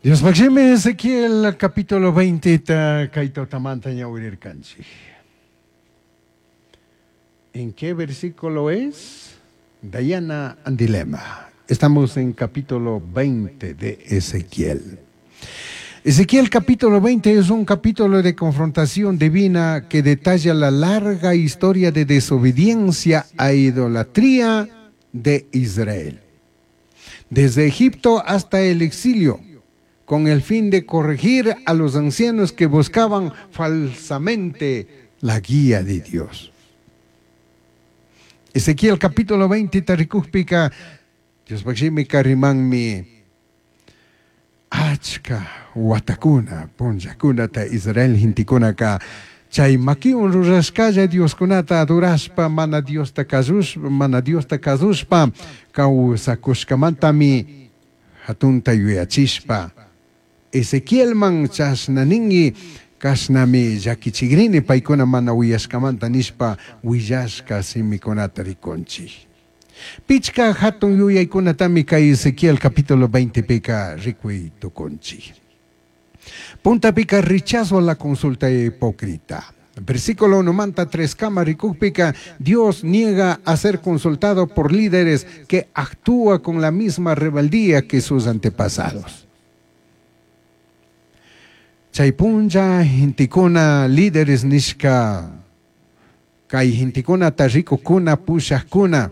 Diospaj shimi Ezequiel capítulo 20 ta kay tutamanta ñawirirkanchik. ¿En qué versículo es? Dayana Andilema. Estamos en capítulo 20 de Ezequiel. Ezequiel capítulo 20 es un capítulo de confrontación divina que detalla la larga historia de desobediencia a idolatría de Israel. Desde Egipto hasta el exilio, con el fin de corregir a los ancianos que buscaban falsamente la guía de Dios. Ezequiel capítulo 20 tarikujpika Diospaj shimika rimanmi achka watakuna punllakunata Israel gentekunaka chay makiwan rurashkalla Dioskunata adorashpa mana Diosta kasushpa mana Diosta kasushpa kawsakushkamantami hatunta yuyachishpa Ezequielman chashna ningi kashnami llakichikrini paykuna mana uyashkamanta nishpa willashka shimikunata rikunchik. Pichka hatun yuyaykunatami kay Ezequiel capítulo 20 pika rikuy tukunchik. Puntapika rechazo a la consulta hipócrita. Versículo 1 manta 3 kama rikukpika, Dios niega a ser consultado por líderes que actúa con la misma rebeldía que sus antepasados. Chay punlla gentekuna líderes nishka kay gentekunata rikukuna pushakuna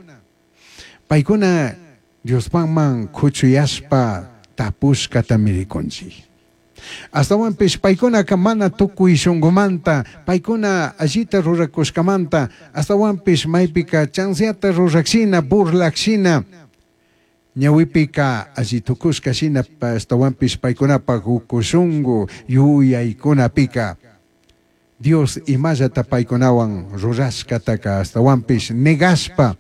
paykuna Diospajman kuchuyashpa tapushkatami rikunchik. Ashtawanpish paykunaka mana tukuy shunkumanta, paykuna allita rurakushkamanta, ashtawanpish maypika chanzata rurakshina, burlakshina, ñawipika alli tukushka shina, ashtawanpish paykunapak uku shunku yuyaykunapika Dios imallata paykunawan rurashkataka ashtawanpish negashpa,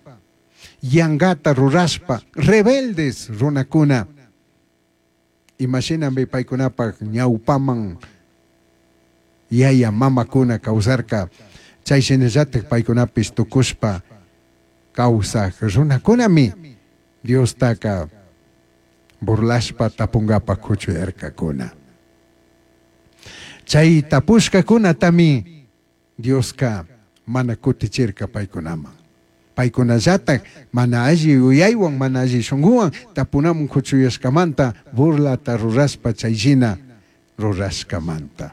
yangata rurashpa, rebeldes runakuna, imashinami paykunapak ñawpaman yaya mamakuna kawsarka, chay shinallatak paykunapish tukushpa kawsaj runakunami Diostaka burlashpa tapungapak kuchuyarkakuna. Chay tapushkakunatami Dioska mana kutichirka paykunaman. Paykunallatak mana alli yuyaywan, mana alli shunkuwan tapunaman kuchuyashkamanta burlata rurashpa chay shina rurashkamanta.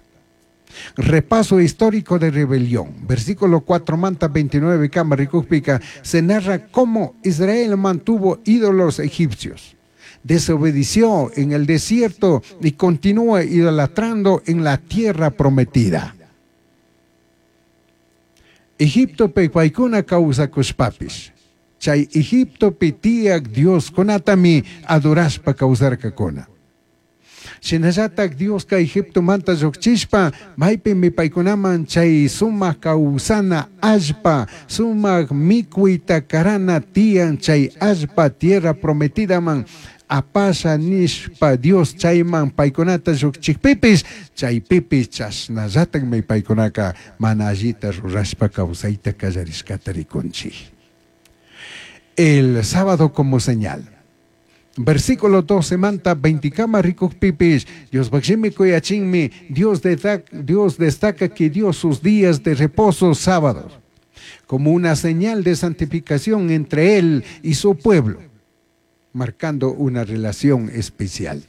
Repaso histórico de rebelión. Versículo 4 manta 29 kama rikukpika se narra cómo Israel mantuvo ídolos egipcios. Desobedeció en el desierto y continúa idolatrando en la tierra prometida. Egiptopi paykuna kawsakushpapish. Chay Egiptopi tiyak Dioskunatami adorashpa kawsarkakuna. Shinallatak Dioska Egiptomanta llukchishpa maypimi paykunaman chay sumak kawsana allpa, sumak mikuyta karana tiyan chay allpa tierra prometidaman apasha nishpa Dios chayman paykunata llukchikpipish chaypipish chashnallatakmi paykunaka mana allita rurashpa kawsayta kallarishkata rikunchik. El sábado como señal. Versículo 12 manta 20 kama rikukpipish, Diospaj shimi kuyachinmi, Dios destaca que dio sus días de reposo sábados, como una señal de santificación entre él y su pueblo, marcando una relación especial.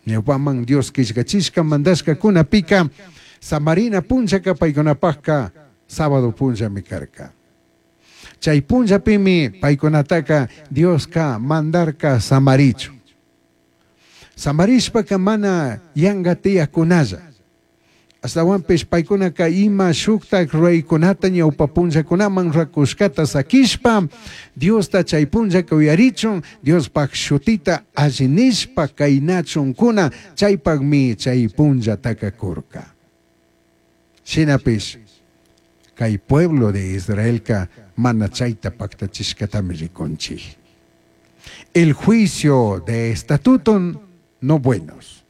Ñawpaman Dios killkachishka mandashka kunapika, samarina punllaka paykunapajka sábado punllami karka. Chay punllapimi paykunataka Dioska mandarka samarichu. Samarishpaka mana yanga tiyakunalla. Ashtawanpish paykunaka ima shuktak ruraykunata ñawpa punllakunaman rurakushkata sakishpa Diosta chay punllaka uyarichun, Diospaj shutita alli nishpa kaynachunkuna, chaypakmi chay punllataka kurka. Shinapish kay pueblo de Israelka mana chayta paktachishkatami rikunchik. El juicio de estatuto no buenos.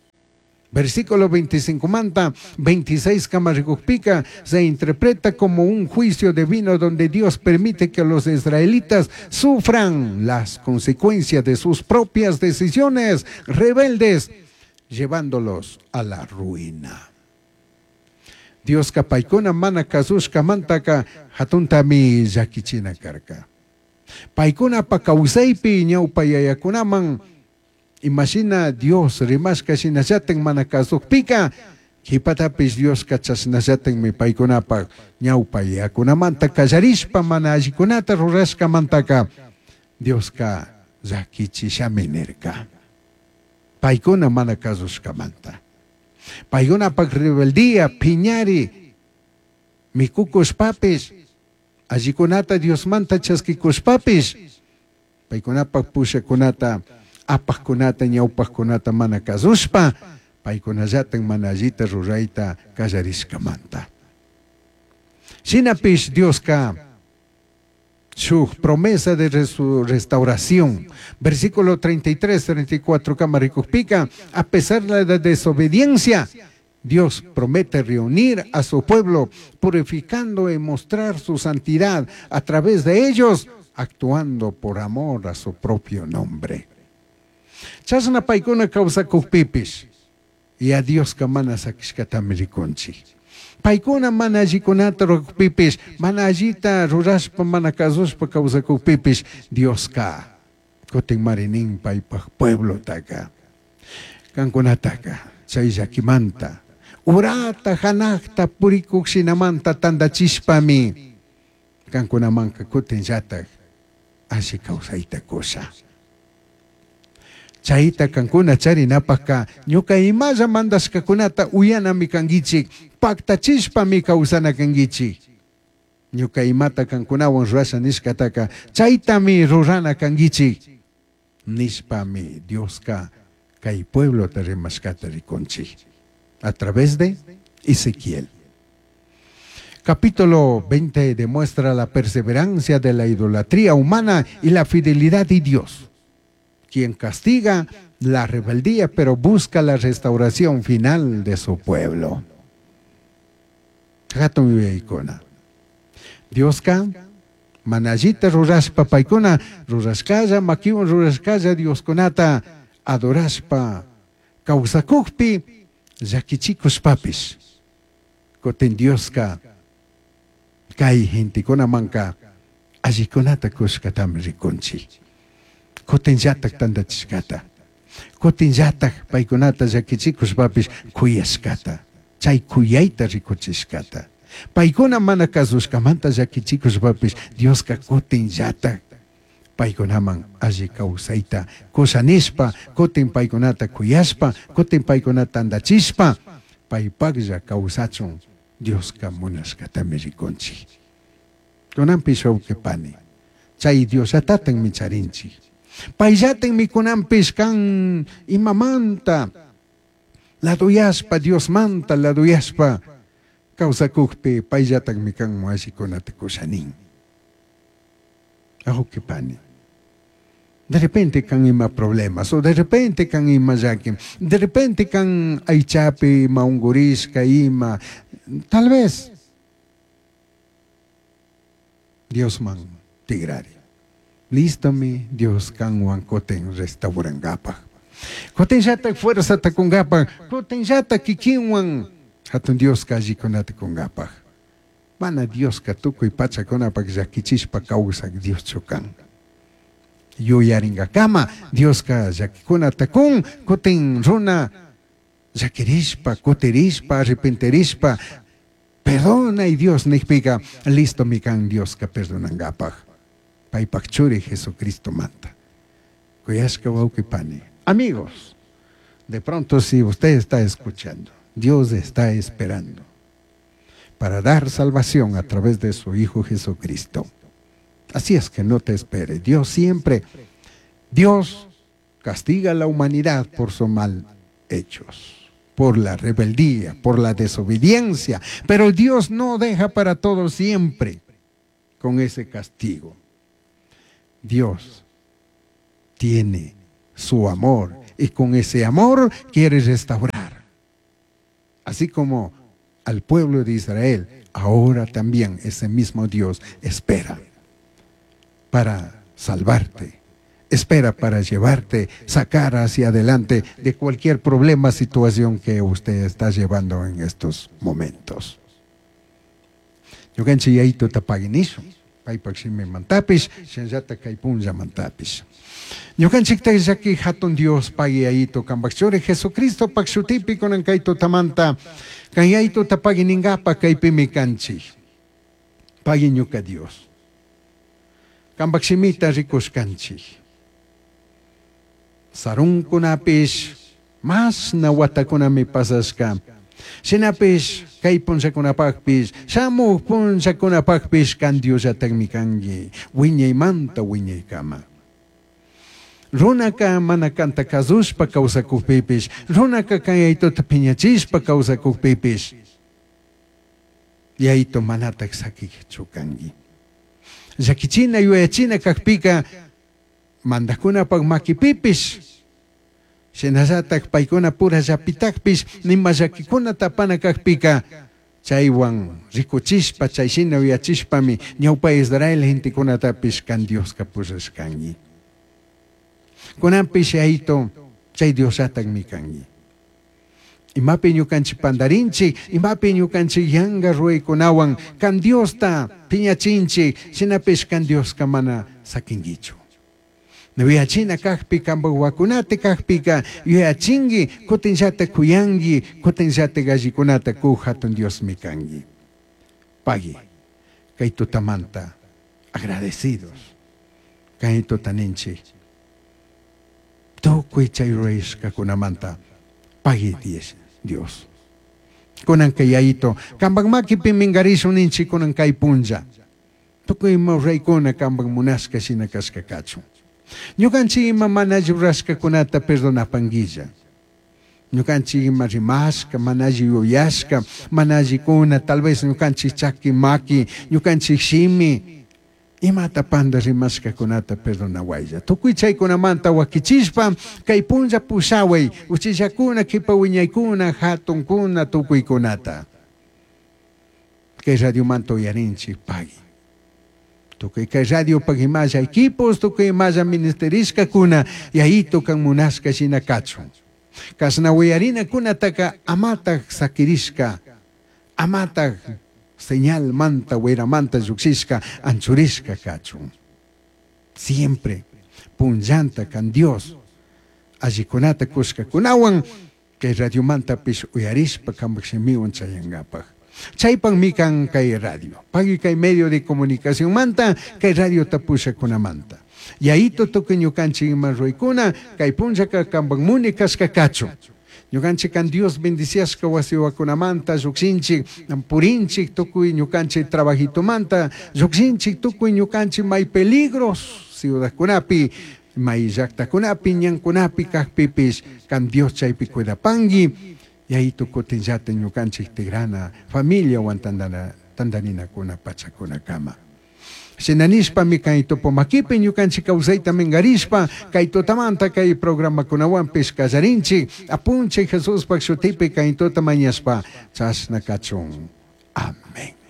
Versículo 25 manta 26 kama rikukpika se interpreta como un juicio divino donde Dios permite que los israelitas sufran las consecuencias de sus propias decisiones rebeldes. llevándolos a la ruina. Diosca paicuna mana kazushkamantaka hatuntami llakichina karka. Paikunapa kawsaypi ñawpa yayakunaman imashina Dios rimashka shinallatin mana kasukpika qhipatapish Dioska chashnallatinmi paykunapaq ñawpa yayakunamanta kallarishpa mana allikunata rurashkamantaka Dioska llakichishami nirka. Paykuna mana kasushkamanta. Paykunapak rebeldía, piñari, mikukushpapish, allikunata Diosmanta chaskikushpapish, paykunapak pushakunata, apaqkunata, ñawpaqkunata mana kasushpa, paykunallatin mana allita rurayta kallarishkamanta. Shinapish Dioska shuk promesa de restauración. Versículo 33, 34, kama rikukpika, a pesar de la desobediencia, Dios promete reunir a su pueblo, purificando y mostrar su santidad a través de ellos, actuando por amor a su propio nombre. Chashna paykuna kawsakukpipish, y a Dioska mana sakishkatami rikunchik. Paykuna mana allikunata rurakpipish, mana allita rurashpa, mana kasushpa kawsakukpipish, Dioska kutin marinin paypaj pueblotaka, kankunataka, chay llakimanta, urata hanaqta purikuk shinamanta tandachishpami, kankunamanka kutin llatak alli kawsayta kusha. Chayta kankuna charinapajka ñuka imalla mandashkakunata uyanami kankichik, paktachishpami kawsana kankichik. Ñuka imata kankunawan rurasha nishkataka chaytami rurana kankichik nishpami Dioska kay pueblota rimashkata rikunchik a través de Ezequiel. Capítulo 20 demuestra la perseverancia de la idolatría humana y la fidelidad de Dios, quien castiga la rebeldía, pero busca la restauración final de su pueblo. Hatun yuyaykuna. Dioska mana allita rurashpa paykuna rurashkalla, makiwan rurashkalla Dioskunata adorashpa kawsakukpi llakichikushpapish. Kutin Dioska kay gentekunamanka allikunata kushkatami rikunchik. Kutin llatak tandachishkata. Kutin llatak paykunata llakichikushpapish kuyashkata. Chay kuyayta rikuchishkata. Paykuna mana kasushkamanta llakichikushpapish Dioska kutin llatak paykunaman alli kawsayta kushanishpa, kutin paykunata kuyashpa, kutin paykunata tandachishpa, paypaklla kawsachun Dioska munashkatami rikunchik. Kunanpish wawqi pani, chay Diosllatatanmi charinchik. Payllatinmi kunanpish kan imamanta laduyashpa, Diosmanta laduyashpa kawsakukpi payllatakmi kan allikunata kushanin. Wawqi pani, de repente kan ima problemas, o de repente kan ima llaki, de repente kan aychapi ima ungurishka ima, tal vez Diosman tigrari. Listomi Dios kanwan kutin restaurangapaj. Kutin llatak fuerzata kungapaj, kutin llatak kikinwan hatun Dioska allikunata kungapaj. Mana Dioska tukuy pachakunapaj llakichishpa kawsak Dioschu kan. Yuyaringakama Dioska llakikunata kun, kutin runa llakirishpa, kutirishpa, arrepentirishpa, perdona y Dios nikpika, listomi kan Dioska perdonangapaj. Paypak churi Jesucristo manta. Kuyashka wawqi pani. Amigos, de pronto si usted está escuchando, Dios está esperando para dar salvación a través de su Hijo Jesucristo. Así es que no te espere. Dios siempre, Dios castiga a la humanidad por sus mal hechos, por la rebeldía, por la desobediencia. Pero Dios no deja para todo siempre con ese castigo. Dios tiene su amor y con ese amor quiere restaurar. Así como al pueblo de Israel, ahora también ese mismo Dios espera para salvarte. espera para llevarte, sacar hacia adelante de cualquier problema, situación que usted está llevando en estos momentos. Ñukanchik Yayituta pagui nishun, paypak shimimantapish, shinallata kay punllamantapish. Ñukanchikta llaki hatun Dios pagui Yayito kanpak churi Jesucristopak shutipi kunan kay tutamanta, kan Yayituta pagui ningapa kaypimi kanchik. Pagui ñuka Dios. Kanpak shimita rikushkanchik. Sarunkunapish mashna watakunami pasashka. Shinapish kay punllakunapakpish, shamuj punllakunapakpish kan Diosllatakmi kanki, wiñaymanta wiñaykama. Runaka mana kanta kasushpa kawsakukpipish, runaka kan Yayituta piñachishpa kawsakukpipish, Yayito manatak sakichu kanki. Llakichina yuyachina kakpika mandakunapak makipipish, shinallatak paykuna pura llapitakpish, nima llakikuna tapana kakpika, chaywan rikuchishpa, chay shina yuyachishpami ñawpa Israel gentekunatapish kan Dioska pushashkanki. Kunanpish Yayito chay Diosllatakmi kanki. Imapi ñukanchik pandarinchik, imapi ñukanchik yanga ruwaykunawan kan Diosta piñachinchik, shinapish kan Dioska mana sakinkichu. Yuyachina kakpi, kanpak wakunata kakpika, yuyachinki, kutinllata kuyanki, kutinllata gallikunata kuj hatun Diosmi kanki. Pagui, kay tutamanta agradecidos, kay tutaninchik, tukuy chay rurashkakunamanta pagui Dios. Kunan kay Yayito, kanpak makipi minkarishun ninchik kunan kay punlla. Tukuy ima ruraykuna kanpak munashka shina kashka kachun. Ñukanchik ima mana alli rurashkakunata perdonapanguilla. Ñukanchik ima rimashka, mana alli yuyashka, mana allikuna, tal vez ñukanchik chaki maki, ñukanchik shimi, imata panda rimashkakunata perdonawaylla. Tukuy chaykunamanta wakichishpa, kay punlla pushaway, uchillakuna, kipa wiñaykuna, hatunkuna, tukuykunata. Kay radiomanta uyarinchik pagui. Tukuy kay radio pag imalla equipos, tukuy imalla ministerishkakuna, Yayito kan munashka shina kachun. Kashna uyarinakunataka amatak sakirishka, amatak señal manta, manta llukshishka, anchurishka kachun. Siempre punllanta kan Dios allikunata kushkakunawan kay radiomantapish uyarishpa kanpak shimiwan chayankapak. Chaypakmi kan kay radio, pagui kay medio de comunicación manta, kay radio tapushakunamanta. Yayito tukuy ñukanchik ima ruwaykuna, kay punllaka kanpak muni kashka kachun. Ñukanchik kan Dios bendiciashka wasiwakunamanta llukshinchik, purinchik tukuy ñukanchik trabajitomanta, llukshinchik tukuy ñukanchik may peligros ciudadkunapi, may llaktakunapi, ñankunapi kakpipish, kan Dios chaypi cuidapanki, Yayito kutinllata ñukanchik tigrana familia wan tandarinakuna pachakunakama. Shinanishpami kay tupumakipi ñukanchik kawsayta minkarishpa, kay tutamanta kay programakunawanpish kallarinchik, apunchik Jesuspak shutipi kay tuta mañashpa, chashna kachun. Amén.